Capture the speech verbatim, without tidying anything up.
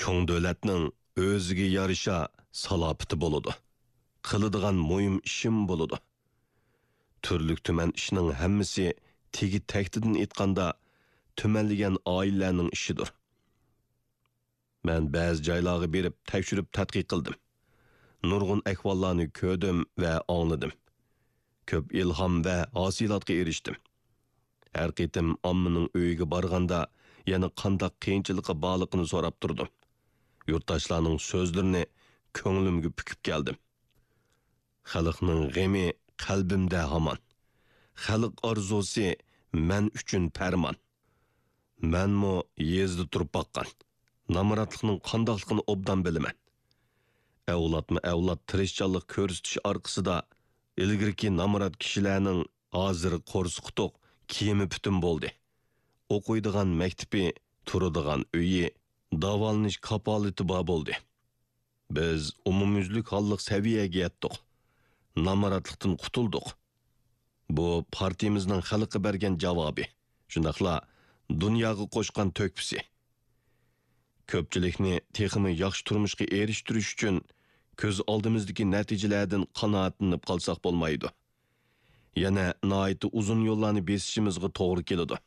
چوڭ دۆلەتنىڭ ئۆزىگە يارىشا سالاپىتى بولىدۇ. قىلىدىغان مۇھىم ئىشىم بولىدۇ. تۈرلۈك-تۈمەن ئىشنىڭ ھەممىسى تېگى-تەكتىدىن ئېيتقاندا، تۈمەنلىگەن ئائىلىلەرنىڭ ئىشىدۇر. مەن بەزى جايلارغا بېرىپ تەكشۈرۈپ تەتقىق قىلدىم. نۇرغۇن ئەھۋاللارنى كۆردۈم ۋە ئاڭلىدىم. كۆپ ئىلھام ۋە ھاسىلاتقا ئېرىشتىم. ھەر قېتىم ئاممىنىڭ ئۆيىگە بارغاندا، يەنە قانداق قىيىنچىلىقى بارلىقىنى سوراپ تۇردۇم. يۇرتداشلارنىڭ سۆزلىرىنى كۆڭلۈمگە پۈكۈپ كەلدىم. خەلقنىڭ غېمى قەلبىمدە ھامان. خەلق ئارزۇسى مەن ئۈچۈن پەرمان. مەنمۇ يېزىدا تۇرۇپ باققان. نامراتلىقنىڭ قانداقلىقىنى ئوبدان بىلىمەن. ئەۋلادمۇ ئەۋلاد تىرىشچانلىق كۆرسىتىش ئارقىسىدا، ئىلگىرىكى نامرات كىشىلەرنىڭ ھازىر قورسىقى توق، كىيىمى پۈتۈن بولدى. ئوقۇيدىغان مەكتىپى، تۇرىدىغان ئۆيى، داۋالىنىش كاپالىتى بار بولدى. بىز ئومۇميۈزلۈك ھاللىق سەۋىيەگە يەتتۇق. نامراتلىقتىن قۇتۇلدۇق. بۇ پارتىيىمىزنىڭ خەلققە بەرگەن جاۋابى، شۇنداقلا دۇنياغا قوشقان تۆھپىسى. كۆپچىلىكنى تېخىمۇ ياخشى تۇرمۇشقا ئېرىشتۈرۈش ئۈچۈن كۆز ئالدىمىزدىكى نەتىجىلەردىن قانائەتلىنىپ قالساق بولمايدۇ. يەنە ناھايىتى ئۇزۇن يوللارنى بېسىشىمىزغا توغرا كېلىدۇ.